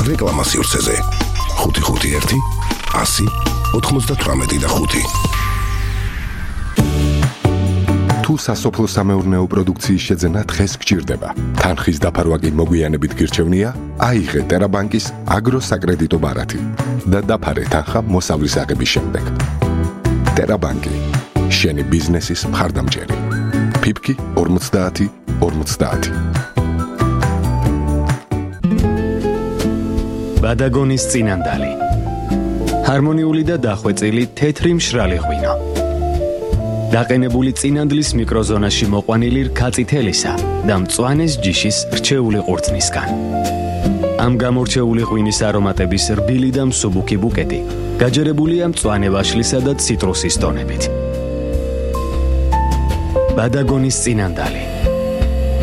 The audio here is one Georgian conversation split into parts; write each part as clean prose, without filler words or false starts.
რეკლამა სივრცეზე 551 100 98 თუ სასოფლო სამეურნეო პროდუქციის შეძენა დღეს გჭირდება. თანხის დაფარვა კი მოგვიანებით გირჩევნია, აიღე ტერაბანკის აგროსაკრედიტო ბარათი და დაფარე თანხა მოსავლის აღების შემდეგ. ტერაბანკი, შენი ბიზნესის მხარდამჭერი. ფიფკი 50 50. ბადაგონის წინანდალი. ჰარმონიული და დახვეწილი თეთრი მშრალი ღვინო. დაყენებული წინანდლის მიკროზონაში მოყვანილი რქაწითელისა და მწვანეს ჯიშის რჩეული ყურძნისგან. ამ გამორჩეული ღვინის არომატების რბილი და მსუბუქი ბუკეტი გაჯერებულია მწვანე ვაშლისა და ციტრუსის ტონებით. ბადაგონის წინანდალი.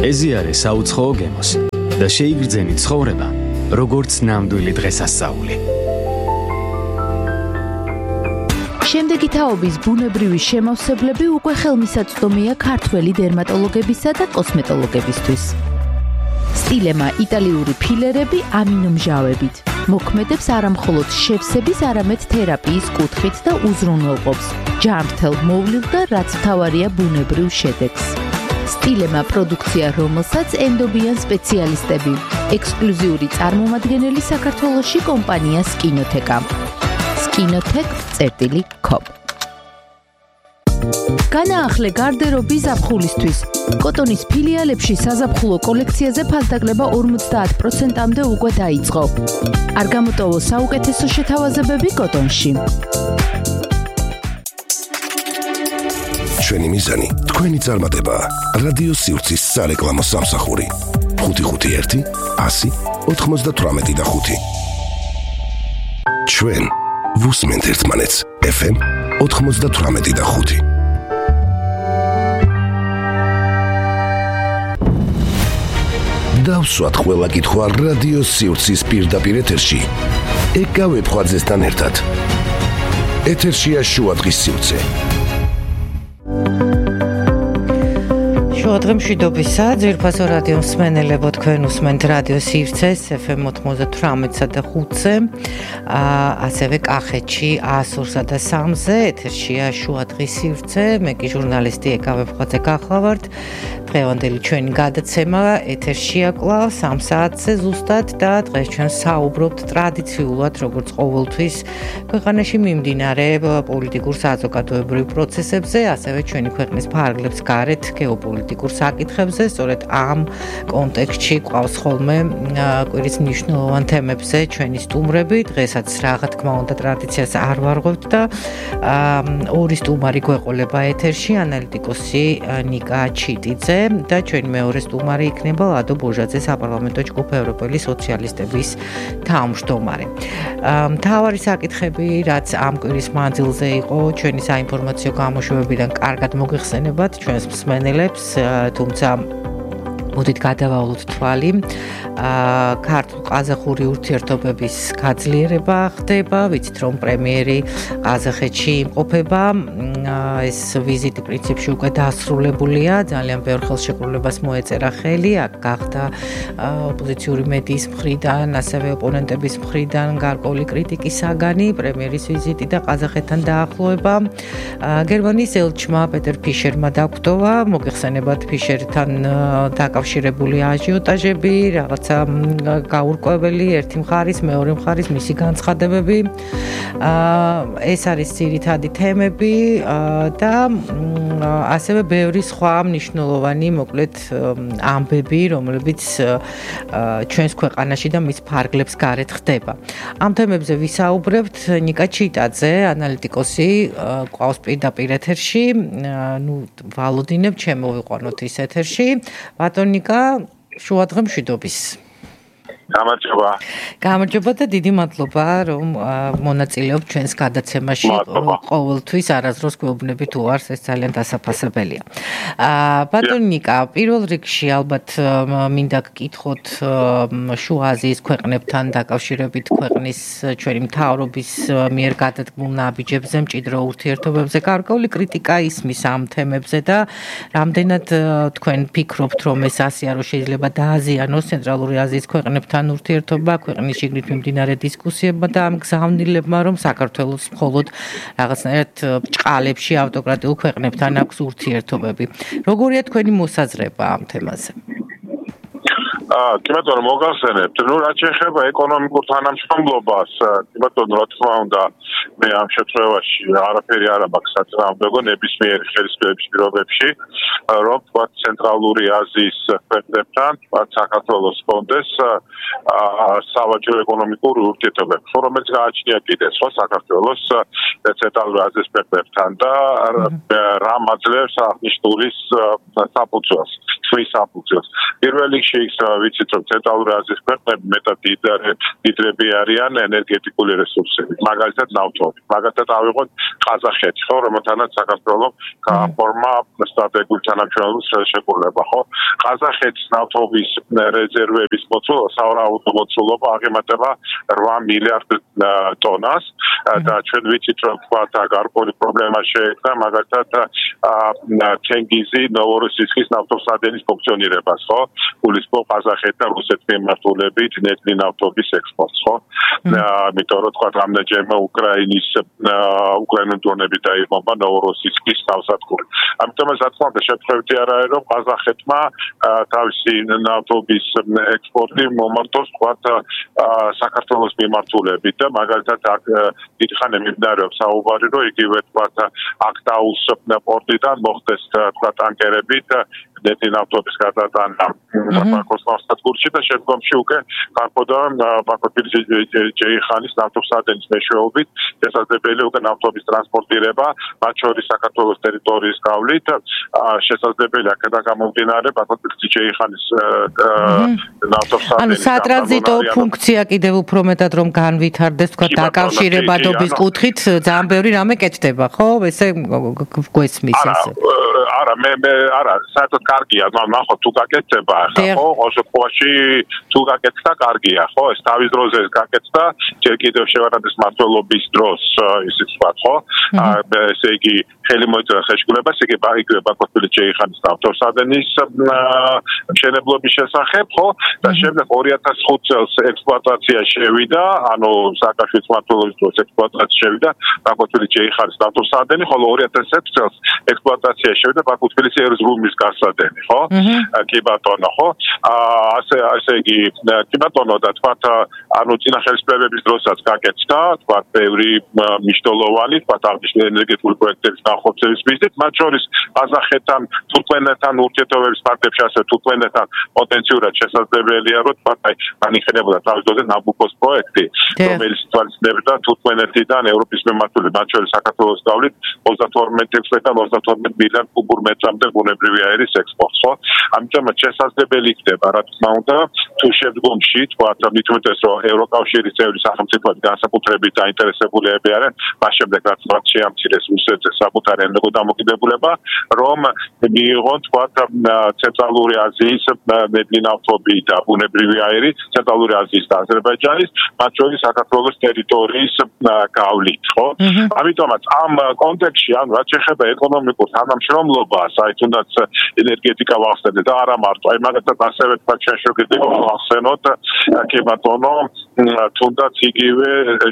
ეზიარე საუცხოო გემოს და შეიგრძენი ცხოვრება, როგორც ნამდვილი დღესასწაული. შემდეგი თაობის ბუნებრივი შემავსებლები უკვე ხელმისაწვდომია ქართველი დერმატოლოგებისა და კოსმეტოლოგებისთვის. სტილემა იტალიური ფილერები ამინომჟავებით მოქმედებს არამხოლოდ შევსების, არამედ თერაპიის კუთხით და უზრუნველყოფს ჯანმრთელ მოვლილ და რაც მთავარია ბუნებრივ შედეგს. სტილემა პროდუქცია, რომელსაც ენდობიან სპეციალისტები, ექსკლუზიური წარმომადგენელი საქართველოში კომპანია სკინოთეკა. skinotech.com. განაახლე გარდერობი ზაფხულისთვის. კოტონის ფილიალებში საზაფხულო კოლექციაზე ფასდაკლება 50%-მდე უკვე დაიწყო. არ გამოტოვო საუკეთესო შეთავაზებები კოტონში. ჩვენი მიზანი, თქვენი წარმატება. რადიო სივრცის სარეკლამო სამსახური 551 100 98. ჩვენ ვუსმენთ ერთმანეთს. FM 98.5. დავსვათ ყველა კითხვა რადიო სივრცის პირდაპირ ეთერში. ეკავე ფხვაძესთან ერთად. ეთერშია შუადღის სივრცე. შუადღე მშვიდობისა, ძვირფასო რადიო მსმენელებო, თქვენ უსმენთ რადიო სივრცეს FM 98-სა და 5-ზე, ასევე კახეთში 102-სა და 3-ზე, ეთერშია შუადღის სივრცე, მე კი ჟურნალისტი ეკავე ფხვაძე გახლავართ. დღევანდელი ჩვენი გადაცემა ეთერშია კვლავ 3 საათზე ზუსტად და დღეს ჩვენ საუბრობთ ტრადიციულად, როგორც ყოველთვის, ქვეყანაში მიმდინარე პოლიტიკურ საზოგადოებრივ პროცესებზე, ასევე ჩვენი ქვეყნის ფარგლებს გარეთ გეოპოლიტიკურ საკითხებზე, სწორედ ამ კონტექსტში ყავს ხოლმე კვირის მნიშვნელოვან თემებზე ჩვენი სტუმრები. დღესაც რა თქმა უნდა ტრადიციას არ ვარღვევთ და ორი სტუმარი გვეყოლება ეთერში, ანალიტიკოსი ნიკა ჩიტიძე და ჩვენი მეორე სტუმარი იქნება ლადო ბოჟაძე, საპარლამენტო ჯგუფ ევროპელი სოციალისტების თავმჯდომარე. მთავარი საკითხები, რაც ამ კვირის მანძილზე იყო, ჩვენი საინფორმაციო გამოშვებებიდან კარგად მოგეხსენებათ ჩვენს მსმენელებს, თუმცა მოდით გადავალოთ თვალი. ქართულ-ყაზახური ურთიერთობების გაძლიერება ხდება, ვიცით რომ პრემიერი ყაზახეთში იმყოფება. ეს ვიზიტი პრინციპში უკვე დასრულებულია, ძალიან ბევრ ხელშეკრულებას მოეწერა ხელი, აქ გახდა ოპოზიციური მედიის მხრიდან, ასევე ოპონენტების მხრიდან გარკვეული კრიტიკის საგანი პრემიერის ვიზიტი და ყაზახეთთან დაახლოება. გერმანიის ელჩმა პეტერ ფიშერმა დაგვტოვა, მოგეხსენებათ ფიშერთან დაკავშირებული აჟიოტაჟები, რაღაცა გაურკვეველი ერთი მხარის, მეორე მხარის მისი განცხადებები. ეს არის ძირითადი თემები და ასევე ბევრი სხვა მნიშვნელოვანი, მოკლედ ამბები, რომლებიც ჩვენს ქვეყანაში და მის ფარგლებს გარეთ ხდება. ამ თემებზე ვისაუბრებთ. ნიკა ჩიტაძე, ანალიტიკოსი, ყავს პირდაპირ ეთერში. ვალოდინებ, ჩემოვიყვანოთ ის ეთერში. ბატონ ნიკა, შუადღე მშვიდობის. გამარჯობა და დიდი მადლობა, რომ მონაწილეობ ჩვენს გადაცემაში. ყოველთვის არასდროს გვეუბნები თუ არს, ეს ძალიან დასაფასებელია. ბატონ ნიკა, პირველ რიგში ალბათ მინდა გკითხოთ შუა აზიის ქვეყნებთან დაკავშირებით ქვეყნის ჩვენი მთავრობის მიერ გადადგმულ ნაბიჯებზე, მჭიდრო ურთიერთობებზე გარკვეული კრიტიკა ისმის ამ თემებზე და რამდენად თქვენ ფიქრობთ, რომ ეს ასია რომ შეიძლება დააზიანოს ცენტრალური აზიის ქვეყნებთან ქვეყნებთან ურთიერთობა, ქვეყნის შიგნით მიმდინარე დისკუსიებმა და ამ გზავნილებმა, რომ საქართველოს მხოლოდ რაღაცნაირად ბრჭყალებში ავტოკრატიულ ქვეყნებთან აქვს ურთიერთობები. როგორია თქვენი მოსაზრება ამ თემაზე? კი ბატონო, მოგახსენებთ, რაც შეეხება ეკონომიკურ თანამშრომლობას, კი ბატონო, რა თქმა უნდა, მე ამ შემთხვევაში არაფერი არ მაქვს საწინააღმდეგო ნებისმიერი ხელისუფლების პირობებში, რომ თქვა ცენტრალური აზიის ქვეყნებთან, თქვა საქართველოს კონდეს სავაჭრო ეკონომიკური ურთიერთობები, რომელიც გააჩნია კიდეც ხო საქართველოს ცენტრალური აზიის ქვეყნებთან და რამ აძლევს აღნიშნული საფუძველს, ხმის საფუძველს. პირველ რიგში ის ვიცით, რომ ცენტრალური აზიის ქვეყნები მეტად დიდრები არიან ენერგეტიკული რესურსებით, მაგალითად ნავთობი. მაგალითად ავიღოთ ყაზახეთი, ხო, რომელთანაც საქართველოს გააფორმა სტრატეგიული თანამშრომლობის ხელშეკრულება, ხო? ყაზახეთის ნავთობის რეზერვების მოცულობა აღემატება 8 მილიარდ ტონას და ჩვენ ვიცით, რომ თქვა გარკვეული პრობლემა შეექმნა მაგალითად თენგიზი ნოვოროსისკის ნავთობსადენის ფუნქციონირებას, ხო? გულისხმობ ყაზახეთი და რუსეთის მიმართულებით ნედლი ნავთობის ექსპორტს, ხო? იმიტომ რომ თქვა რამდენჯერმე უკრაინული დრონებით დაიღუპა ნოვოროსისკის ნავსადგური. ამიტომ რა თქმა უნდა შეფრევდი არ არის რომ ყაზახეთმა თავისი ნავთობის ექსპორტი მომართოს თქვა საქართველოს მიმართულებით და მაგალითად აქ დიდხანი მიმდინარეობს საუბარი რომ იგივე თქვა აქტაუს პორტიდან მოხდეს თქვა ტანკერებით ნეტი ნავთობის გადატანა ბაქოს ნავსადგურში და შემდგომში უკვე გარკვეულდა ბაქოს ჯეიხანის ნავთობსადენის მეშვეობით შესაძლებელი უკვე ნავთობის ტრანსპორტირება მათ შორის საქართველოს ტერიტორიის გავლით შესაძლებელია აქედან გამომდინარე ბაქოს ჯეიხანის ნავთობსადენის ანუ სატრანზიტო ფუნქცია კიდევ უფრო მეტად რომ განვითარდეს თქვა დაკავშირებადობის კუთხით ძალიან ბევრი რამე კეთდება ხო ესე გვესმის ესე არა მე არა საერთოდ კარგია ნახო თუ გაკეთდება ხო ოსოფოში თუ გაკეთდა კარგია ხო ეს თავის დროზე გაკეთდა ჯერ კიდევ შევარადეს მართლობის დროს ისიც ვთქვა ხო ესე იგი ხელი მოიწონა ხელშეკრულებას იგი ბაქოს ჯეიხანის ნავთობსადენის მშენებლობის შესახებ ხო და შემდეგ 2005 წელს ექსპლუატაცია შევიდა ანუ სააკაშვილის მმართველობის დროს ექსპლუატაცია შევიდა ბაქოს ჯეიხანის ნავთობსადენი ხოლო 2011 წელს ექსპლუატაცია შევიდა ბაქოს ერზრუმის გასადენი ხო კი ბატონო ხო ასე იგი კი ბატონო და თქვა ანუ წინა ხელისუფლებების დროსაც გაკეთდა თქვა ბევრი მნიშვნელოვანი თქვა აღნიშნული ენერგეტიკული პროექტების განხორციელების მიზნით მათ შორის ყაზახეთთან თურქმენეთთან ურთიერთობების ფაქტებში ასე თურქმენეთთან პოტენციურად შესაძლებელია რომ თქვა განიხილებოდა თავის დროზე ნაბუკოს პროექტი რომელიც თვალისწინებდა თურქმენეთიდან ევროპის მიმართულებით მათ შორის საქართველოს გავლით 32 მილიარდ კუბურ მეტრამდე ბუნებრივი აერის ექსპორტს ხო ამიტომ შესაძლებელი იქნება რა თქმა უნდა თუ შემდგომში თქვა მით უმეტეს რომ ევროკავშირის წევრი სახელმწიფოები განსაკუთრებით დაინტერესებულები არიან მას შემდეგ რაც შეამცირეს რუსეთზე საკუთარი ენერგოდამოკიდებულება რომ მიიღონ თქვა ცენტრალური აზიის ნედლი ნავთობი და ბუნებრივი აერი ცენტრალური აზიის და აზერბაიჯანის მათ შორის საქართველოს ტერიტორიის გავლით ხო ამიტომაც ამ კონტექსტში ანუ რაც შეეხება ეკონომიკურ თანამშრომლობას აი თუნდაც ენერგეტიკა ვახსენეთ და არა მარტო აი მაგათაც ასევე თქვა შეშოგდება ვახსენოთ კი ბატონო თუნდაც იგივე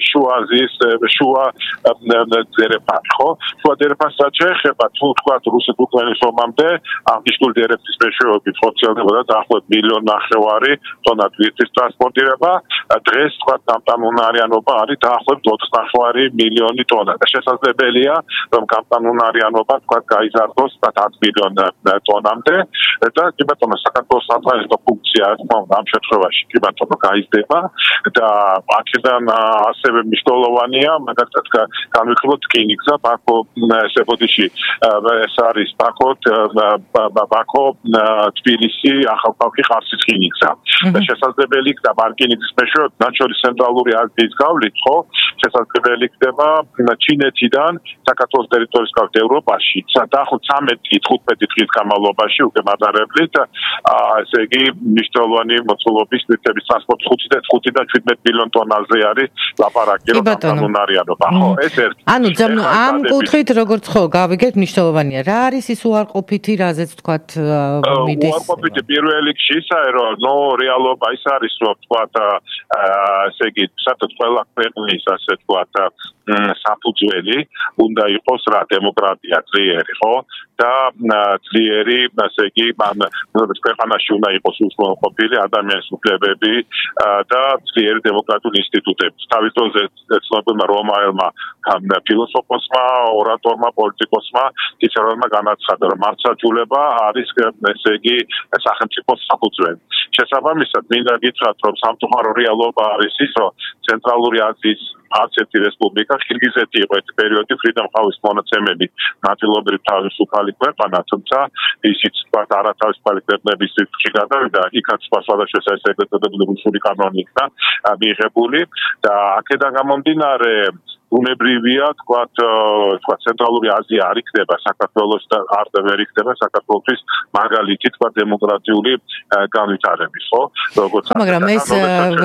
შუა აზიის შუა დერეფან ხო შუა დერეფანს შეეხება თუ თქვა რუსეთ-უკრაინის ომამდე აღნიშნული დერეფნის მეშვეობით ხორციელდებოდა დაახლოებით 1.5 მილიონი ტონა თვისის ტრანსპორტირება დღეს თქვა კანონარიანობა არის დაახლოებით 29 მილიონი ტონა და შესაძლებელია რომ კანონარიანობა თქვა გაიზარდოს 10 მილიონ ტონამდე და კი ბატონო საქართველოს სატრანზიტო ფუნქცია ამ შემთხვევაში კი ბატონო გაიზრდება და აქედან ასევე მნიშვნელოვანია მაგალითად განვიხილოთ რკინიგზა ბაქო სებოდიში ეს არის ბაქო თბილისი ახალქალაქი ხარსის რკინიგზა და შესაძლებელი იქნება რკინიგზის მეშვეობით მათ შორის ცენტრალური აზიის გავლით ხო შესაძლებელი იქნება ჩინეთიდან საქართველოს ტერიტორიის გავლით ევროპაში დაახლოებით 13-15 დღის განმავლობაში უკვე მატარებლით ესე იგი მნიშვნელოვანი მოცულობის ნივთების 5 და 17 მილიონ ტონაზე არის ლაპარაკი რომ განუნარიანობა ხო ეს ერთი ანუ ამ კუთხით როგორც ხო გავიგეთ მნიშვნელოვანია რა არის ის უარყოფითი რაზეც თქვათ მიდის უარყოფითი პირველ რიგში ისაა რომ რეალობა ის არის რომ თქვათ ესე იგი საერთოდ ყველა ქვეყნის ასე თქვათ საფუძველი უნდა იყოს რა დემოკრატია ძლიერი ხო და ძლიერი ასე იგი ქვეყანაში უნდა იყოს უსმენყოფილი ადამიანის უფლებები და ძლიერი დემოკრატიული ინსტიტუტები თავის დროზე ცნობილმა რომაელმა ფილოსოფოსმა ორატორმა პოლიტიკოსმა ციცერონმა განაცხადა რომ მართლმსაჯულება არის ესე იგი სახელმწიფოს საფუძველი შესაბამისად მინდა გითხრათ რომ სამწუხარო რეალობა არის ის რომ ცენტრალური აზიის არცერთი რესპუბლიკა ხირგიზეთი იყო ერთ პერიოდი Freedom House-ის მონაცემები ნაწილობრივ თავისუფალი ქვეყანა თუმცა ისიც თქვათ არათავისუფალი ქვეყნების რიცხვი გადავიდა იქაც სხვადასხვა საერთაშორისო რუსული კანონი იქნა მიიღებული და აქედან გამომდინარე უნებრივია თქვათ ცენტრალური აზია არ იქნება საქართველოს და არ ვერ იქნება საქართველოს მაგალითი თქვათ დემოკრატიული განვითარების ხო როგორც მაგრამ ეს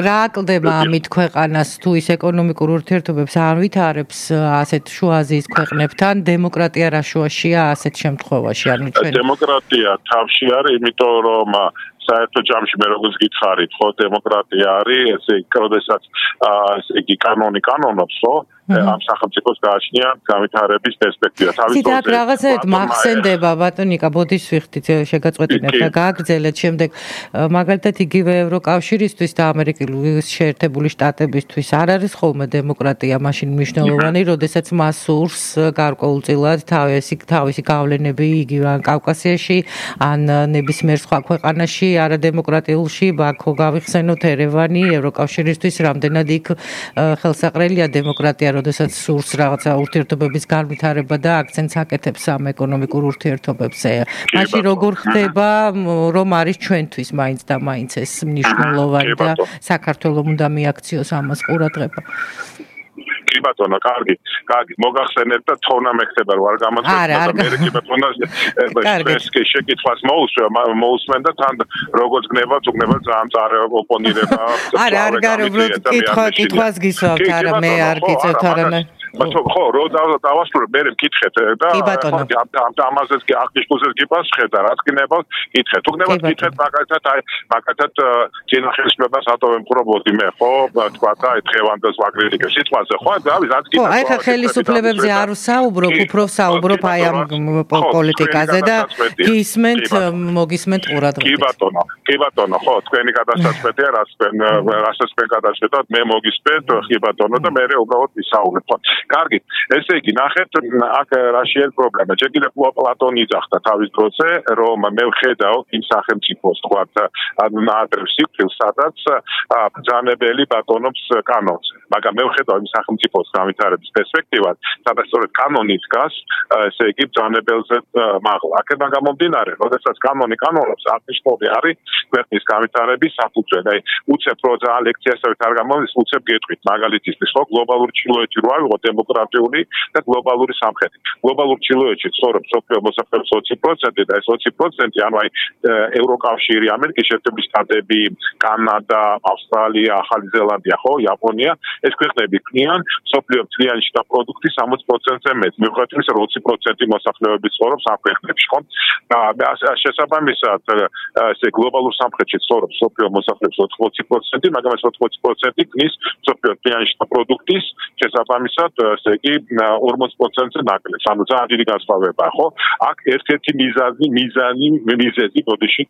რა აკლდება ამით ქვეყანას თუ ის ეკონომიკურ ურთიერთობებს არ ვითარებს ასეთ შუა აზიის ქვეყნებთან დემოკრატია რა შუაშია ასეთ შემთხვევაში ანუ ჩვენ დემოკრატია თავში არის იმიტომ რომ საერთო ჯამში მე როგორც გითხარით ხო დემოკრატია არის ესე როდესაც ესე იგი კანონი კანონობს ხო ამ სახელმწიფოს გააჩნია განვითარების პერსპექტივა თავის დროზე. იქ რაღაცა მახსენდება ბატონიკა ბოდიშს ვიხდით შეგაწყვეტინებთ და გააგრძელეთ შემდეგ მაგალითად იგივე ევროკავშირისთვის და ამერიკული შეერთებული შტატებისთვის არ არის ხოლმე დემოკრატია მაშინ მნიშვნელოვანი, როდესაც მას სურს გარკვეულწილად თავისი გავლენები იგივე ან კავკასიაში ან ნებისმიერ სხვა ქვეყანაში არადემოკრატიულში ბაქო გავიხსენოთ ერევანი ევროკავშირისთვის რამდენად იქ ხელსაყრელია დემოკრატია როდესაც სურს რაღაცა ურთიერთობების განვითარება და აქცენტს აკეთებს ამ ეკონომიკურ ურთიერთობებზე. მაშინ როგორ ხდება რომ არის ჩვენთვის მაინც და მაინც ეს მნიშვნელოვანი და საქართველოს უნდა მიაქციოს ამას ყურადღება. კი ბატონო, კარგი. მოგახსენეთ და თონა მეხება რომ არ გამოცემდა და მე კი ბატონო ეს შეკითხვას მოусმენ და თან როგორც გნება ძალიან წარე ოპონირება. არ გარებულ კითხვას გისვავთ არა მე არ გიწევთ არანაირ ხო, რო დავასრულებ, მე მკითხეთ და ამაზეც კი აღნიშნულზეც კი პასუხეთ და რაც გნებავ, კითხეთ. თუ გნებავ, კითხეთ მაგათაც ჯენახელისმებას ატოვემყრობოდი მე, ხო, თქვა და აი დღევანდელს ვაკრიტიკებ სიტყვაზე, ხო, რაც კი. ხო, აი ხა ხელისუფლებებზე არ ვსაუბრობ, უფრო ვსაუბრობ აი ამ პოლიტიკაზე და გისმენთ, მოგისმენთ ყურადღებით. კი ბატონო, ხო, თქვენი გადასაწყვეტია, რასაც თქვენ გადაწყვეტოთ, მე მოგისმენთ, კი ბატონო და მე უბრალოდ ვისაუბრებ. კარგი, ესე იგი, ნახეთ, აქ რა შეიძლება პრობლემა. ჯერ კიდევ პლატონი იძახდა თავის დროზე, რომ მე ვხედავ იმ სახელმწიფოს, თქვათ, ნაადრევ სიკვდილს, სადაც ბრძანებელი ბატონობს კანონზე. მაგრამ მე ვხედავ იმ სახელმწიფოს განვითარების პერსპექტივას, სადაც სწორედ კანონი დგას, ესე იგი, ბრძანებელზე მაღლა. აქედან გამომდინარე, როდესაც კანონი კანონობს, აღნიშნული არის ქვეყნის განვითარების საფუძველი. აი, უცებ რო ძალიან ლექციასავით არ გამოდის, უცებ გეტყვით, მაგალითისთვის, ხო, გლობალური ჩრდილოეთი რო ავიღოთ დემოკრატიული და გლობალური სამხრეთი. გლობალურ ჩრდილოეთში ცხოვრობს სოფლიო მოსახლეობის 20% და ეს 20% ანუ აი ევროკავშირი, ამერიკის შეერთებული შტატები, კანადა, ავსტრალია, ახალი ზელანდია, ხო, იაპონია, ეს ქვეყნები ქმნიან სოფლიო მთლიანი შტა პროდუქტის 60%-ზე მეტ. მიუხედავად იმისა, რომ 20% მოსახლეობის ცხოვრობს ამ ქვეყნებში, ხო? და შესაბამისად, ესე გლობალურ სამხრეთში ცხოვრობს სოფლიო მოსახლეობის 80%, მაგრამ ეს 80% ქმნის სოფლიო მთლიანი შტა პროდუქტის შესაბამისად ესე იგი 40%-ზე ნაკლებს. ანუ ძალიან დიდი განსხვავებაა, ხო? აქ ერთ-ერთი მიზეზი ბოდიშით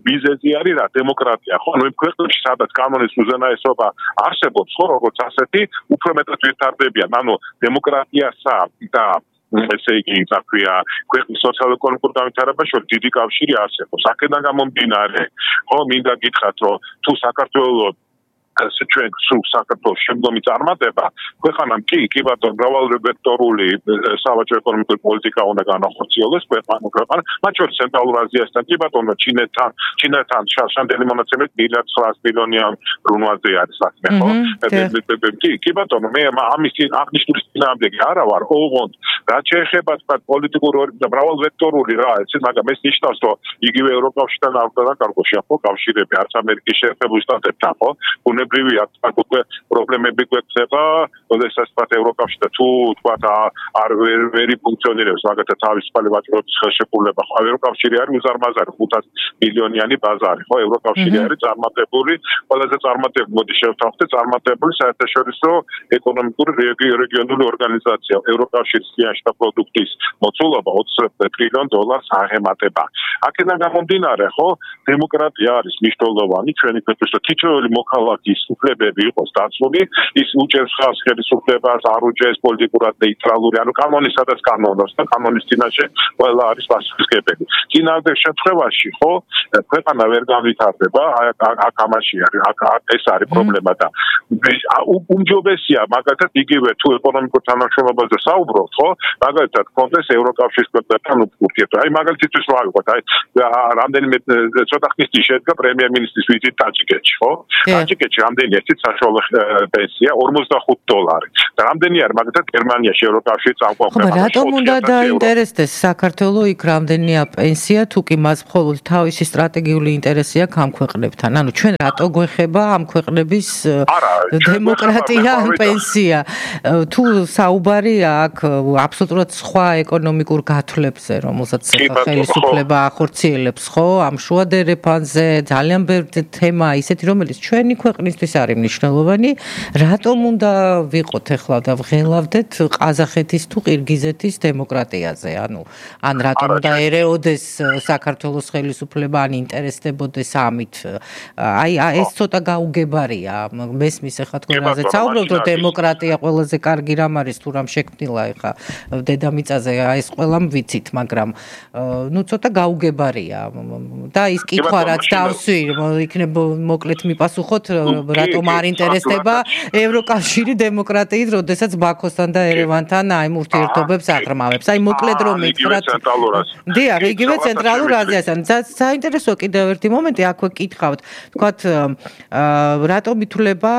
მიზეზი არის რა დემოკრატია, ხო? ანუ იმ ქვეყნებში, სადაც კანონის უზენაესობა არსებობს, ხო, როგორც ასეთი, უფრო მეტად ვითარდებიან. ანუ დემოკრატიასა და ესე იგი, თქვია, ქვეყნის სოციალურ-ეკონომიკურ განვითარებაში შორის დიდი კავშირი არსებობს. აქედან გამომდინარე, ხო, მინდა გითხრათ, რომ თუ საქართველოს ჩვენ სულ საქართველოს შემდგომი წარმატება ქვეყანამ კი ბატონო მრავალვექტორული სავაჭრო ეკონომიკური პოლიტიკა უნდა განახორციელოს ქვეყანა მათ შორის ცენტრალურ აზიასთან კი ბატონო ჩინეთთან შანტელი მონაცემით 1.9 მილიონიან რუნვაზე არის საქმე ხო კი ბატონო მე ამის აღნიშნული წინააღმდეგი არა ვარ ოღონდ რაც შეეხება თქვა პოლიტიკური და მრავალვექტორული რა ეცით მაგრამ ეს ნიშნავს რომ იგივე ევროკავშირთან არ დაკარგოში ხო კავშირები არც ამერიკის შეერთებული შტატებთან ხო ბუნებრივია უკვე პრობლემები გვექნება როდესაც თქვა ევროკავშირი თუ თქვა არ ვერ ფუნქციონირებს მაგათა თავისუფალი ვაჭრობის ხელშეკრულება ხო ევროკავშირი არის უზარმაზარი 500 მილიონიანი ბაზარი ხო ევროკავშირი არის წარმატებული ყველაზე წარმატებული მოდი შევთავაზოთ წარმატებული საერთაშორისო ეკონომიკური რეგიონული ორგანიზაცია ევროკავშირის სიანშთა პროდუქტის მოცულობა 20 ტრილიონ დოლარს აღემატება აქედან გამომდინარე ხო დემოკრატია არის მნიშვნელოვანი ჩვენი ქვეყნის თითოეული მოქალაქის უფლებები იყოს დაცული ის უჭერს ხალხს ხელისუფლებას არ უჭერს პოლიტიკურად ნეიტრალური ანუ კანონისადაც კანონობს და კანონის წინაშე ყველა არის პასუხისმგებელი წინააღმდეგ შემთხვევაში ხო ქვეყანა ვერ განვითარდება აქ ამაში არის ეს არის პრობლემა და უმჯობესია მაგალითად იგივე თუ ეკონომიკურ თანამშრომლობაზე საუბრობთ ხო მაგალითად კონდეს ევროკავშირის ქვეყნებთან ურთიერთობა აი მაგალითისთვის რა ვიყოთ აი რამდენიმე ცოტა ხნის წინ შედგა პრემიერ-მინისტრის ვიზიტი ტაჯიკეთში ხო ტაჯიკეთში რამდენი ერთი საშუალო პენსია $45 და რამდენი არის მაგალითად გერმანიაში ევროკავშირის წამყვან რატომ უნდა დაინტერესდეს საქართველოს იქ რამდენია პენსია თუ კი მას მხოლოდ თავისი სტრატეგიული ინტერესი აქვს ამ ქვეყნებთან ანუ ჩვენ რატო გვეხება ამ ქვეყნების დემოკრატია ან პენსია თუ საუბარია აქ აბსოლუტურად სხვა ეკონომიკურ გათვლებზე რომელსაც ხელისუფლება ახორციელებს ხო ამ შუადერეფანზე ძალიან ბევრი თემა ისეთი რომელიც ჩვენი ქვეყნისთვის არის მნიშვნელოვანი რატომ უნდა ვიყოთ ახლა და ვღელავდეთ ყაზახეთის თუ ყირგიზეთის დემოკრატიაზე ანუ ან რატომ უნდა ერეოდეს საქართველოს ხელისუფლება ან ინტერესდებოდეს ამით აი ეს ცოტა გაუგებარია მესმის ახლა თქვენ რაზეც საუბრობთ რომ დემოკრატია ყველაზე კარგი რამ არის თუ რამ შექმნილა ახლა დედამიწაზე ეს ყველამ ვიცით მაგრამ ნუ ცოტა გაუგებარია და ის კითხვა რაც დავსვი იქნებ მოკლედ მიპასუხოთ რატომ არ ინტერესდება ევროკავშირი დემოკრატიით როდესაც ბაქოსთან და ერევანთან აი ურთიერთობებს აღრმავებს აი მოკლედ რომ მითხრათ დიახ იგივე ცენტრალურ აზიასთან საინტერესო კიდევ ერთი მომენტი აქვე კითხავთ თქვათ რატომ ითვლება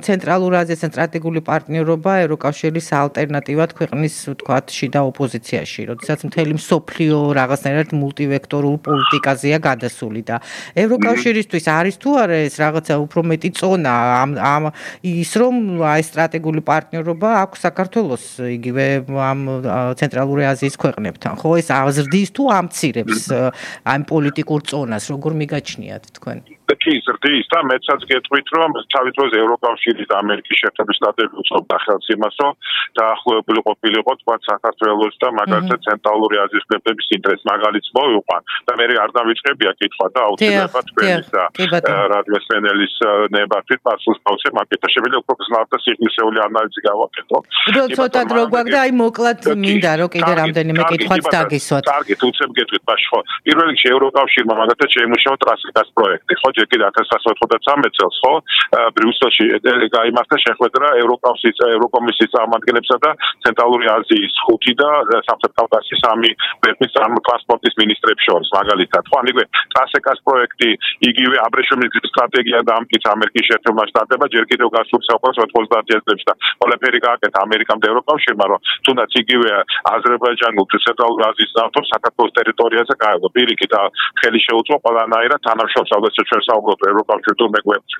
ცენტრალურ აზიასთან სტრატეგიული პარტნიორობა ევროკავშირის ალტერნატივად ქვეყნის თქვათ შიდა ოპოზიციაში როდესაც მთელი მსოფლიო რაღაცნაირად მულტივექტორულ პოლიტიკაზეა გადასული და ევროკავშირისთვის არის თუ არა ეს რაღაცა უფრო მეტი წონა ამ ის რომ აი სტრატეგიული პარტნიორობა აქვს საქართველოს იგივე ამ ცენტრალური აზიის ქვეყნებთან ხო ეს აზრდის თუ ამცირებს ამ პოლიტიკურ წონას როგორ მიგაჩნიათ თქვენ კი ზრდის და მეცაც გეტყვით რომ თავის დროზე ევროკავშირის და ამერიკის შეერთებული შტატები უწყობდა ხელს იმას რომ დაახლოებული ყოფილიყო თქვა საქართველოს და მაგალითად ცენტრალური აზიის ქვეყნების ინტერესს მაგალითს მოვიყვან და მე არ დავიწყებია კითხვა და აუცილებლად თქვენის და რადიო სენელის ნებართვით პასუხს დავცე მაგეთა შეგვიძლია უფრო გზნად და სიხნისეული ანალიზი გავაკეთო ცოტა დრო გვაქვს და აი მოკლედ მინდა რომ კიდე რამდენიმე კითხვაც დაგისვათ კარგი უცებ გეტყვით ბაში ხო პირველ რიგში ევროკავშირმა მაგალითად შეიმუშავა ტრასიკას პროექტი ხო ჯერ კიდევ 1993 წელს ხო ბრიუსელში გაიმართა შეხვედრა ევროკომისიის წარმომადგენლებსა და ცენტრალური აზიის 5 და სამხრეთ კავკასიის 3 ქვეყნის ტრანსპორტის მინისტრებს შორის მაგალითად ხო ამიგე ტრასიკას პროექტი იგივე აბრეშუმის სტრატეგია და ამკიც ამერიკის შეერთებულმა შტატებმა ჯერ კიდევ გასულ საუკუნეში 90 წლებში და ყველაფერი გააკეთა ამერიკამ და ევროკავშირმა რომ თუნდაც იგივე აზერბაიჯანულ თუ ცენტრალურ აზიის ნავთობს საქართველოს ტერიტორიაზე გაეღო პირიქით და ხელი შეუწყო ყველანაირად თანამშრომლებს როდესაც ჩვენ საუბრობთ ევროკავშირთან თუ მეგვეფს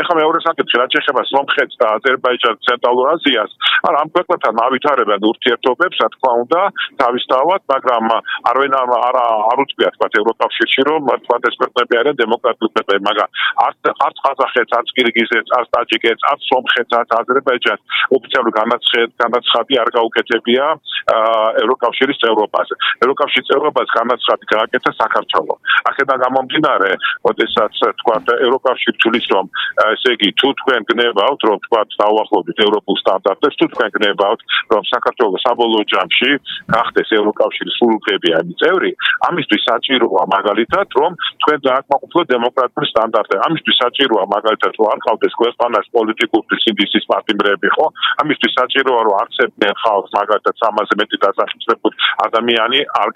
ეხლა მეორე საკითხი რაც ეხება სომხეთს და აზერბაიჯანს ცენტრალურ აზიას ამ ქვეყნებთან ავითარებენ ურთიერთობებს რა თქმა უნდა თავისთავად მაგრამ არ უწყვია თქვა ევროკავშირში რომ თქვა ეს ქვეყნები არიან დემოკრატიული ქვეყნები მაგრამ არც ყაზახეთს არც ყირგიზეთს არც ტაჯიკეთს არც სომხეთს არც აზერბაიჯანს ოფიციალური განაცხადი არ გაუკეთებია ევროკავშირის წევრობაზე ევროკავშირის წევრობას განაცხადი გააკეთა საქართველო აქედან გამომდინარე როდესაც თქვა ევროკავშირი თulis რომ ესე იგი თუ თქვენ გნებავთ რომ თქვა დაუახლოვდით ევროპულ სტანდარტებს თუ თქვენ გნებავთ რომ საქართველოს საბოლოო ჯამში გახდეს ევროკავშირის სრულუფლებიანი წევრი ამისთვის საჭიროა მაგალითად რომ თქვენ დააკმაყოფილოთ დემოკრატიული სტანდარტები ამისთვის საჭიროა მაგალითად რომ არ ყავდეს ქვეყანას პოლიტიკური სინდისის პარტნიორები ხო ამისთვის საჭიროა რომ არცებდნენ ხალხს მაგალითად 300-ზე მეტი დასახლებულ ადამიანი არ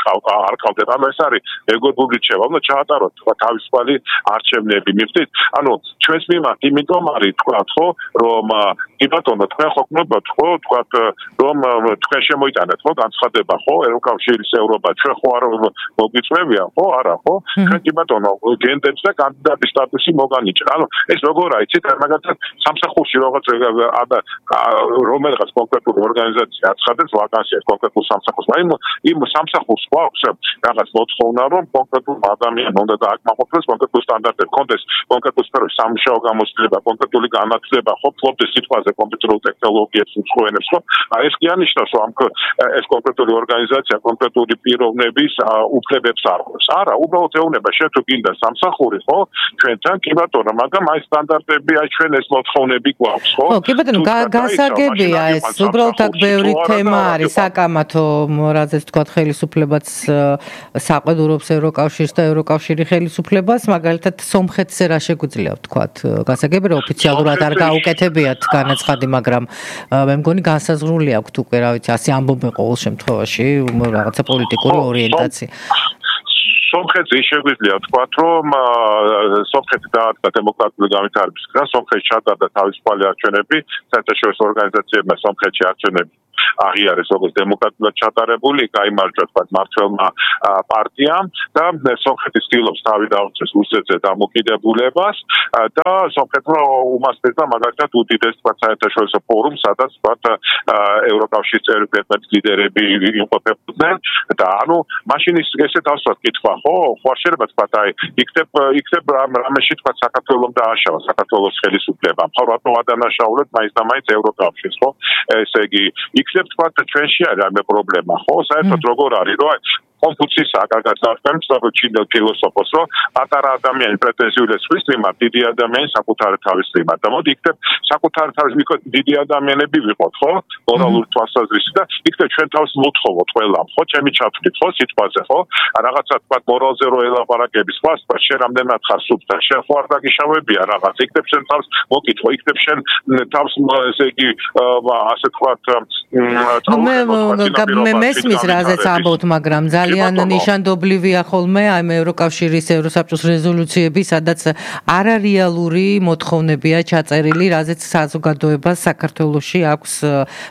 ყავდეთ ანუ ეს არის ეგრეგული რჩევა უნდა ჩაატაროთ თქვა თავისუფალი არჩევნები მივხვდით ანუ ჩვენს მიმართ იმიტომ არის თქვა ხო რომ კი ბატონო თქვენ ხო გნობთ ხო თქვა რომ თქვენ შემოიტანეთ ხო განცხადება ხო ევროკავშირის ევროპა ჩვენ ხო არ მოგვიწევია ხო არა ხო ჩვენ კი ბატონო გენდებს და კანდიდატის სტატუსი მოგანიჭა ანუ ეს როგორ აიცით მაგალითად სამსახურში რაღაც რომელიღაც კონკრეტული ორგანიზაცია აცხადებს ვაკანსიას კონკრეტულ სამსახურს იმ სამსახურს გვაქვს რაღაც მოთხოვნა რომ კონკრეტულ ადამიანს უნდა დააკმაყოფილოს კონკრეტულ სტანდარტებს კონდეს კონკრეტულ სფეროში სამუშაო გამოცდილება კონკრეტული განათლება ხო ფლობდეს სიტყვაზე კომპიუტერულ ტექნოლოგიებს უცხოენებს ხო ეს კი ანიშნავს რომ ეს კონკრეტული ორგანიზაცია კონკრეტული პიროვნების უფლებებს არღვევს არა უბრალოდ ეუბნება შენ თუ გინდა სამსახური ხო ჩვენთან კი ბატონო მაგრამ აი სტანდარტები აი ჩვენ ეს მოთხოვნები გვაქვს ხო კი ბატონო გასაგებია ეს უბრალოდ აქ ბევრი თემა არის საკამათო რაზეც თქვა ხელისუფლებაც საყვედურობს ევროკავშირს და ევროკავშირი ხელისუფლებას მაგალითად სომხეთზე რა შეგვიძლია ვთქვათ გასაგებია ოფიციალურად არ გაუკეთებიათ განაცხადი მაგრამ მე მგონი განსაზღვრული აქვს უკვე რა ვიცი ასე ამბობენ ყოველ შემთხვევაში რაღაცა პოლიტიკური ორიენტაცია სომხეთზე შეგვიძლია ვთქვათ რომ სომხეთი დაარსდა დემოკრატიული განვითარების გზა სომხეთში ჩატარდა თავისუფალი არჩევნები საერთაშორისო ორგანიზაციებმა სომხეთში არჩევნები აღიარეს როგორც დემოკრატულად ჩატარებული გაიმარჯვა თქვათ მმართველმა პარტიამ და სომხეთის ცდილობს თავი დაუწეს რუსეთზე დამოკიდებულებას და სომხეთმა უმასპინძლა მაგალითად უდიდეს თქვათ საერთაშორისო ფორუმს სადაც თქვათ ევროკავშირის წევრი ქვეყნების ლიდერები იმყოფებოდნენ და ანუ მაშინ ესე დავსვათ კითხვა ხო ხوار შეიძლება თქვათ აი იქნებ რამეში თქვათ საქართველოს დააშავა საქართველოს ხელისუფლება მხოლოდ ადანაშაულეთ მაინც და მაინც ევროკავშირს ხო ესე იგი იქნებ თქვათ ჩვენში არის ამ პრობლემა ხო საერთოდ როგორ არის რომ კონფუციის აკაკაცავს საბჭოთა ფილოსოფოსს რომ პატარა ადამიანი პრეტენზიული სხვის მიმართ დიდი ადამიანი საკუთარი თავის მიმართ და მოდი იქნებ საკუთარი თავის მიმართ დიდი ადამიანები ვიყოთ ხო მორალური თვალსაზრისით და იქნებ ჩვენ თავს მოთხოვოთ ყველამ ხო ჩემი ჩათვლით ხო სიტყვაზე ხო რაღაცა თქვათ მორალზე რო ელაპარაკების სხვა შენ რამდენად ხარ სუფთა შენ ხო არ დაგიშავებია რაღაც იქნებ შენ თავს მოკითხო იქნებ შენ თავს ესე იგი ასე თქვათ მე მესმის რაზეც ამბობთ მაგრამ ძალიან ნიშანდობლივია ხოლმე აი ევროკავშირის ევროსაბჭოს რეზოლუციები სადაც არარეალური მოთხოვნებია ჩაწერილი რაზეც საზოგადოებას საქართველოში აქვს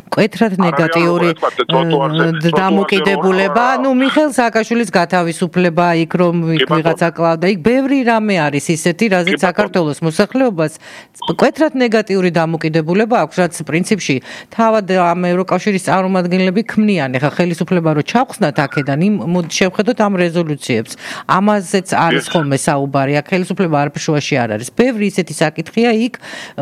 მკვეთრად ნეგატიური დამოკიდებულება ну მიხეილ სააკაშვილის გათავისუფლება იქ რომ ვიღაცა კლავდა იქ ბევრი რამე არის ისეთი რაზეც საქართველოს მოსახლეობას მკვეთრად ნეგატიური დამოკიდებულება აქვს რაც პრინციპში თავად ამ ევროკავშირის წარმომადგენლები ქმნიან ეხა ხელისუფლება რო ჩახსნათ აქედან იმ შევხედოთ ამ რეზოლუციებს. ამაზეც არის ხოლმე საუბარი. აქ ხელისუფლება არაფერში არ არის. ბევრი ისეთი საკითხია იქ,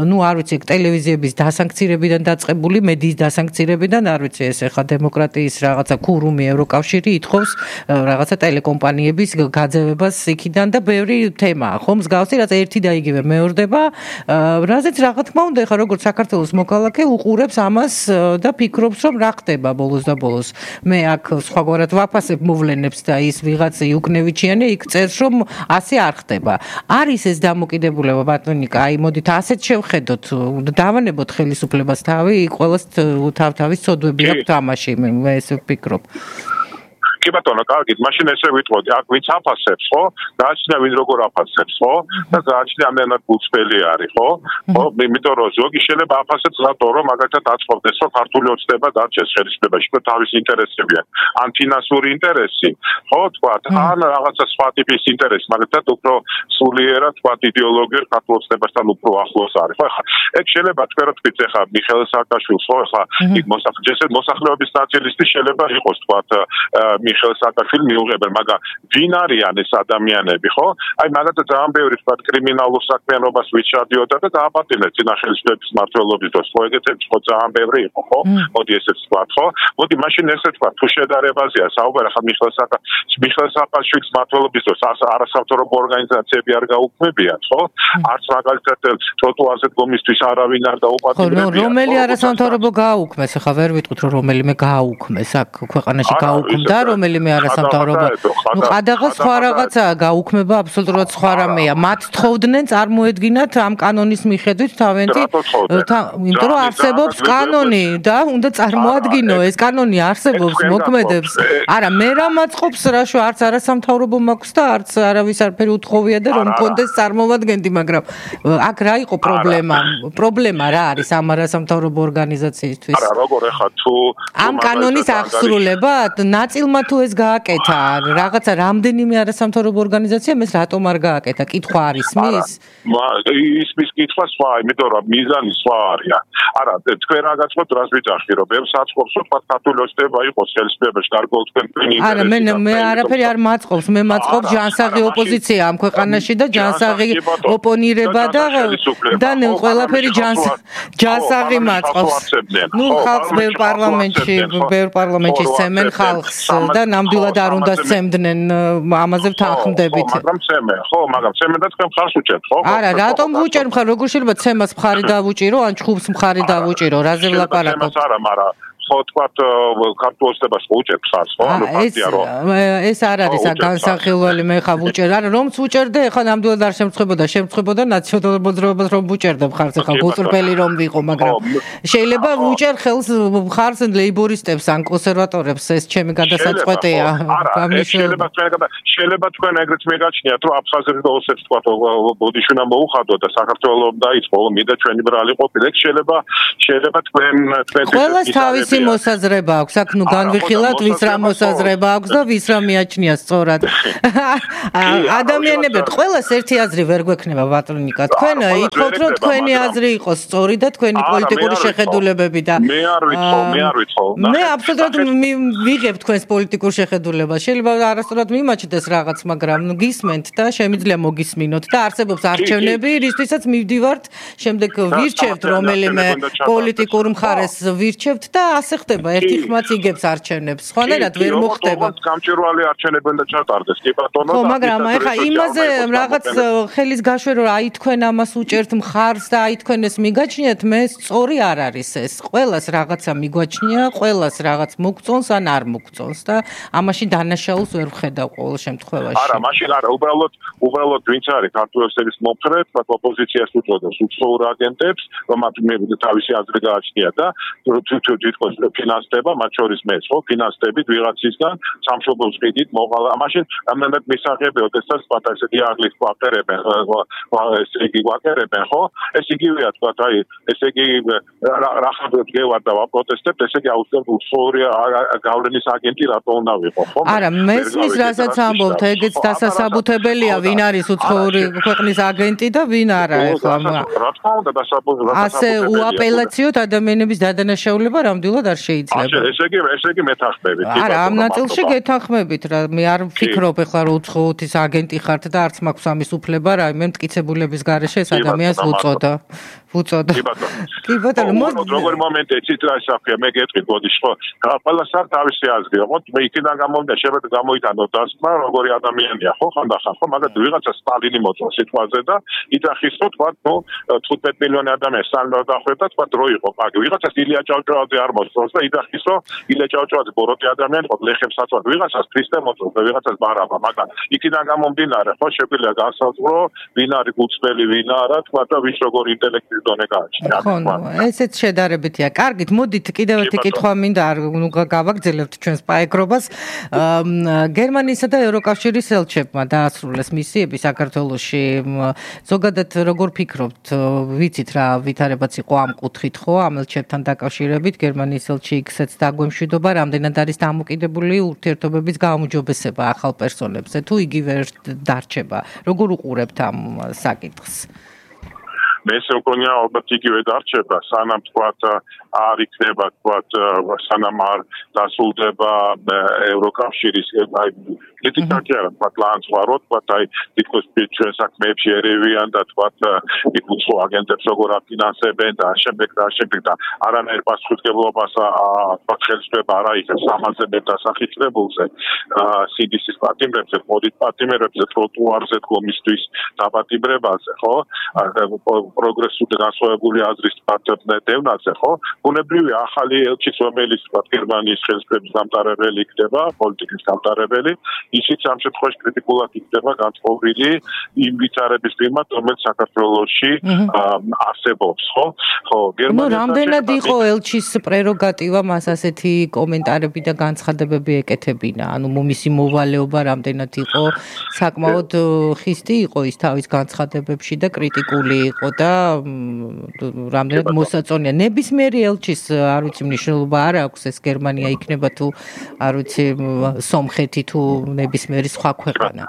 ну არ ვიცი, ტელევიზიების დასანქცირებიდან დაწყებული, მედიის დასანქცირებიდან, არ ვიცი, ეს ახლა დემოკრატიის რაღაცა ქურუმი ევროკავშირი ითხოვს რაღაცა ტელეკომპანიების გაძევებას იქიდან და ბევრი თემაა. ხო, მსგავსი რაც ერთი და იგივე მეორდება, რაზეც რა თქმა უნდა, ახლა როგორც საქართველოს მოქალაქე უყურებს ამას და ფიქრობს, რომ რა ხდება ბოლოს და ბოლოს. მე აქ სხვაგვარად ვაფასებ მოვლენებს და ის ვიღაც იუკნევიჩიანი იქ წერს რომ ასე არ ხდება. არის ეს დამოკიდებულება ბატონიკა, აი მოდით ასეთ შევხედოთ, დავანებოთ ხელისუფლებას თავი, ყველას თავის ცოდვები აქვს თამაში, მე ესე ვფიქრობ. კი ბატონო, კარგით, მაშინ ესე ვიტყოდი, აქ ვინც აფასებს, ხო? გააჩნია ვინ როგორ აფასებს, ხო? და გააჩნია ამდენად გულწრფელი არის, ხო? ხო, იმიტომ რომ ზოგი შეიძლება აფასებს რატო, რომ მაგალითად აწყობდეს, რომ ქართული ოცნება დარჩეს ხელისუფლებაში, და თავის ინტერესები აქვს. ან ფინანსური ინტერესი, ხო, თქვა, ან რაღაცა სხვა ტიპის ინტერესი, მაგალითად უფრო სულიერად, თქვა, იდეოლოგიურ ქართულ ოცნებასთან უფრო ახლოს არის. ხო, ხა, ეგ შეიძლება თქვენ რა თქვით, ხა, მიხეილ სააკაშვილს, ხო, ხა, იქ მოსახლეობის ნაწილისტი შეიძლება იყოს, თქვა, მიხეილ სააკაშვილი მიუღებელ, მაგრამ ვინ არიან ეს ადამიანები, ხო? აი მაგათ ძალიან ბევრი თქვა კრიმინალურ საქმიანობას ვიჩადიოდა და დააპატიმრეს წინა ხელისუფლების მმართველობის დროს, ხო ეგეთები ხო ძალიან ბევრი იყო, ხო? მოდი ესეც თქვა, ხო? მოდი მაშინ ესე თქვა, თუ შედარებაზეა საუბარი, ხა მიხეილ სააკაშვილის მმართველობის დროს არასამთავრობო ორგანიზაციები არ გაუქმებიათ, ხო? არც მაგალითად ტროტუარზე დგომისთვის არავინ არ დაუპატიმრებია. რომელი არასამთავრობო გააუქმეს, ხა ვერ ვიტყვით რომ რომელიმე გააუქმეს, აქ ქვეყანაში გააუქმდა რომელიმე არასამთავრობო. ნუ ყადაღა სხვა რაღაცაა, გაუქმება აბსოლუტურად სხვა რამეა. მათ თხოვდნენ წარმოედგინათ ამ კანონის მიხედვით თავენთი, იმიტომ რომ არსებობს კანონი და უნდა წარმოადგინო ეს კანონი არსებობს, მოქმედებს. არა, მე რა მაწყობს რაშო არც არასამთავრობო მაქვს და არც არავის არაფერი უთხოვია და რომ კონდეს წარმოვადგენდი, მაგრამ აქ რა იყო პრობლემა? პრობლემა რა არის ამ არასამთავრობო ორგანიზაციისთვის? არა, როგორ ახლა თუ ამ კანონის აღსრულება ნაწილმა თუ ეს გააკეთა, რაღაცა რამდენიმე არასამთავრობო ორგანიზაციამ ეს რატომ არ გააკეთა? კითხვა არის მის? ისმის კითხვა სხვა, იმიტომ რომ მიზანი სხვა არის. არა, თქვენ რა გაწყვეტ რას ვიძახი, რომ ბევრს აწყობს, რომ თქვა ქართული ოცნება იყოს ხელისუფლებაში, გარკვეულ თქვენ ინტერესებს. არა, მე არაფერი არ მაწყობს, მე მაწყობს ჯანსაღი ოპოზიცია ამ ქვეყანაში და ჯანსაღი ოპონირება და ყველაფერი ჯანსაღი მაწყობს. ნუ ხალხს ბევრ პარლამენტში სცემენ ხალხს და ნამდვილად არ უნდა სცემდნენ, ამაზე ვთანხმდებით. მაგრამ სცემენ, ხო, მაგრამ სცემენ და თქვენ მხარს უჭერთ, ხო? არა, რატომ ვუჭერ მხარ, როგორ შეიძლება ცემას მხარი დავუჭირო, ან ჩხუბს მხარი დავუჭირო, რაზე ვლაპარაკობ? არა, მაგრამ ხო თქვათ ქართულ ოცნებას უჭერთ ხარს, ხო? ანუ ფაქტია რომ ეს არ არის განსახილველი, მე ხა ვუჭერ, არა, რომც ვუჭერდე, ხა ნამდვილად არ შემწყებოდა ნაციონალურობას რომ ვუჭერდე ხარს, ხა გუწრფელი რომ ვიყო, მაგრამ შეიძლება ვუჭერ ხელს ხარს ლეიბორისტებს ან კონსერვატორებს, ეს ჩემი გადასაწყვეტია. შეიძლება თქვენ ეგრეთ მეგაჩნიათ, რომ აფხაზები და ოსებს თქვათ ბოდიშუნა მოუხადო და საქართველოს დაიწყო, მინდა ჩვენი ბრალი ყოფილიყ, შეიძლება თქვენ ყველას თავისი მოსაზრება აქვს, აქ ნუ განვიხილავთ ვის რა მოსაზრება აქვს და ვის რა მიაჩნია სწორად. ადამიანები, ყველას ერთი აზრი ვერ გვექნება ბატონიკა. თქვენ ითხოვთ რომ თქვენი აზრი იყოს სწორი და თქვენი პოლიტიკური შეხედულებები და მე არ ვითხოვ. მე აბსოლუტურად ვიღებ თქვენს პოლიტიკურ შეხედულებას. შეიძლება არასწორად მიმაჩნდეს რაღაც, მაგრამ გისმენთ და შემიძლია მოგისმინოთ და არსებობს არჩევნები, რისთვისაც მივდივართ, შემდეგ ვირჩევთ რომელიმე პოლიტიკურ მხარეს ვირჩევთ და ასე ხდება, ერთი ხმაც იგებს არჩევნებს. სხვანაირად ვერ მოხდება. გამჭვირვალე არჩევნები უნდა ჩატარდეს, კი ბატონო. ხო, მაგრამ ეხლა იმაზე რაღაც ხელის გაშვე რომ აი თქვენ ამას უჭერთ მხარს და აი თქვენ ეს მიგაჩნიათ, მე სწორი არ არის ეს. ყველას რაღაცა მიგვაჩნია, ყველას რაღაც მოგწონს ან არ მოგწონს და ამაში დანაშაულს ვერ ვხედავ ყოველ შემთხვევაში. არა, მაშინ არა, უბრალოდ ვინც არის ქართული ოცნების მომხრე, თქვა ოპოზიციას უწოდებს უცხოურ აგენტებს, რომ მათ თავისი აზრი გააჩნია და თვითონ ფინანსდება, მათ შორის მეც, ხო, ფინანსდებით ვიღაცისგან სამშობლოს ყიდით მოყალა. მაშინ რამდენად მისაღები, ოდესაც პატარა ესეთი აღლის ყვაყერებენ, ესე იგი ყვაყერებენ, ხო? ეს იგივეა, თქვა, აი, ესე იგი რა ხარდებს გევარ და ვაპროტესტებთ, ესე იგი აუცილებლად უცხოური გავლენის აგენტი რატო უნდა ვიყო, ხო? არა, მესმის რასაც ამბობთ, ეგეც დასასაბუთებელია, ვინ არის უცხოური ქვეყნის აგენტი და ვინ არა, ეხლა. რა თქმა უნდა, დასაბუთებელია. ასე უაპელაციოდ ადამიანების დადანაშაულება რამდენად არ შეიძლება. ესე იგი მეთანხმებით. არა, ამ ნაწილში გეთანხმებით რა, მე არ ვფიქრობ ეხლა რომ უცხოეთის აგენტი ხართ და არც მაქვს ამის უფლება რა, მე მტკიცებულების გარეშე ეს ადამიანს ვუწოდა. კი ბატონო, როგორი მომენტია ცით რა საფია, მე გეტყვით, მოდი ხო, ყველას არ თავისი აზრი, ხო, მე იქიდან გამომდა შეიძლება გამოიტანო დასმა, როგორი ადამიანია, ხო, ხანდახან, ხო, მაგათ ვიღაცა სტალინი მოწონს სიტყვაზე და იძახის, რომ თქვა, ნუ 15 მილიონი ადამიანი სტალინს დახვედა, თქვა დრო იყო, მაგ ვიღაცას ილია ჭავჭავაძე არ მოწონს და იძახის, რომ ილია ჭავჭავაძე ბოროტი ადამიანი იყო, ლეხებს აწვად, ვიღაცას ქრისტე მოწონს და ვიღაცას ბარაბა, მაგრამ იქიდან გამომდინარე, ხო, შეგვიძლია განსაზღვრო, ვინ არის გულწრფელი, ვინ არა, თქვა და ვის როგორი ინტელექტის დონე გააჩნია. ხო, ესეც შედარებითია. კარგით, მოდით კიდევ ერთი კითხვა მინდა გავაგრძელებთ ჩვენს პაეკრობას. გერმანიისა და ევროკავშირის ელჩებმა დაასრულეს მისიები საქართველოში. ზოგადად როგორ ფიქრობთ, ვიცით რა ვითარებაც იყო ამ კუთხით, ხო, ამ ელჩებთან დაკავშირებით, გერმანიის ელჩი იქცეც დაგვემშვიდობა, რამდენად არის დამოკიდებული ურთიერთობების გაუმჯობესება ახალ პერსონებზე, თუ იგივე დარჩება. როგორ უყურებთ ამ საკითხს? მესე მგონია ალბათ იგივე დარჩება, სანამ თქვათ არ იქნება თქვათ სანამ არ დასრულდება ევროკავშირის კრიტიკა კი არა, თქვათ ლანცვაროთ, თქვათ აი თითქოს ჩვენ საქმეებში ერევიან და თქვათ უცხო აგენტებს როგორ აფინანსებენ და შემდეგ და არანაირ პასუხისმგებლობას თქვათ ხელისუფლება არ აიღებს ამაზე დასახილებულზე CDC-ის პატიმრებზე, მოდით პატიმრებზე, ტროტუარზე დგომისთვის დაპატიმრებაზე, ხო? პროგრესული განსხვავებული აზრის დევნაზე, ხო? ბუნებრივია ახალი ელჩიც, რომელიც თქვათ გერმანიის ხელისუფლების დამტარებელი იქნება, პოლიტიკის დამტარებელი, ისიც ამ შემთხვევაში კრიტიკულად იქნება განწყობილი იმ ვითარების მიმართ, რომელიც საქართველოში არსებობს, ხო? ხო, გერმანია რამდენად იყო ელჩის პრეროგატივა მას ასეთი კომენტარები და განცხადებები ეკეთებინა? ანუ მისი მოვალეობა რამდენად იყო საკმაოდ ხისტი იყო ის თავის განცხადებებში და კრიტიკული იყო და რამდენად მოსაწონია. ნებისმიერი ელჩის არ ვიცი მნიშვნელობა არ აქვს ეს გერმანია იქნება თუ არ ვიცი სომხეთი თუ ნებისმიერი სხვა ქვეყანა.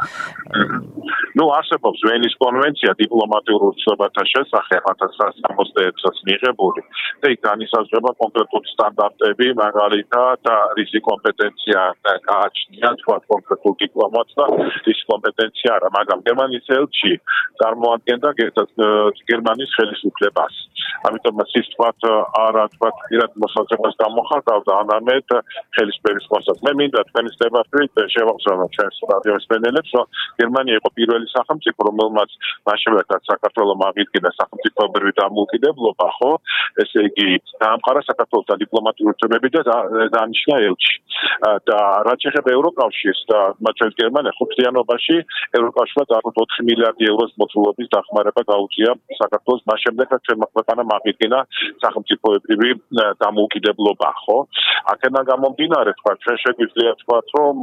არსებობს ვენის კონვენცია დიპლომატიურ ურთიერთობათა შესახებ 1961 წელს მიღებული და იქ განისაზღვრება კონკრეტული სტანდარტები, მაგალითად რისი კომპეტენცია გააჩნია თქვათ კონკრეტულ დიპლომატს და ის კომპეტენცია არა, მაგრამ გერმანიის ელჩი წარმოადგენდა გერმანიის ხელისუფლებას. ამიტომ ის თქვათ არა თქვათ პირად მოსაზრებას გამოხატავდა, არამედ ხელისუფლების მოსაზრებას. მე მინდა თქვენი სტებაშვით შევახსენოთ ჩვენს რადიოს მენელებს, რომ გერმანია იყო პირველი სახელმწიფო, რომელმაც მაშინაც საქართველოს აღიდგინა სახელმწიფოებრივი დამოუკიდებლობა, ხო? ესე იგი, დაამყარა საქართველოს დიპლომატიური ურთიერთობები და დანიშნა ელჩი. და რაც შეეხება ევროკავშირს და მათ გერმანია ხუთიანობაში ევროკავშირმა დაახლოებით 4 მილიარდი ევროს მოცულობის დახმარება გაუწია საქართველოს მას შემდეგ, რაც ჩვენმა ქვეყანამ აღიდგინა სახელმწიფოებრივი დამოუკიდებლობა, ხო? აქედან გამომდინარე, თქვა, ჩვენ შეგვიძლია თქვა, რომ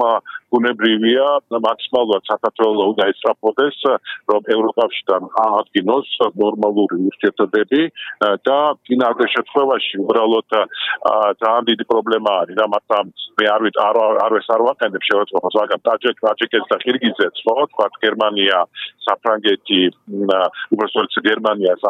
ბუნებრივია მაქსიმალურად საქართველოს უნდა ესწრაფოდეს, რომ ევროკავშირთან აღადგინოს ნორმალური ურთიერთობები და ფინალურ შემთხვევაში უბრალოდ ძალიან დიდი პრობლემა არის და მაგრამ მე არ ვაყენებ შევაწყობას, მაგრამ ტაჯიკეთს და ყირგიზეთს, ხო, თქვა გერმანია, საფრანგეთი, უბრალოდ გერმანიას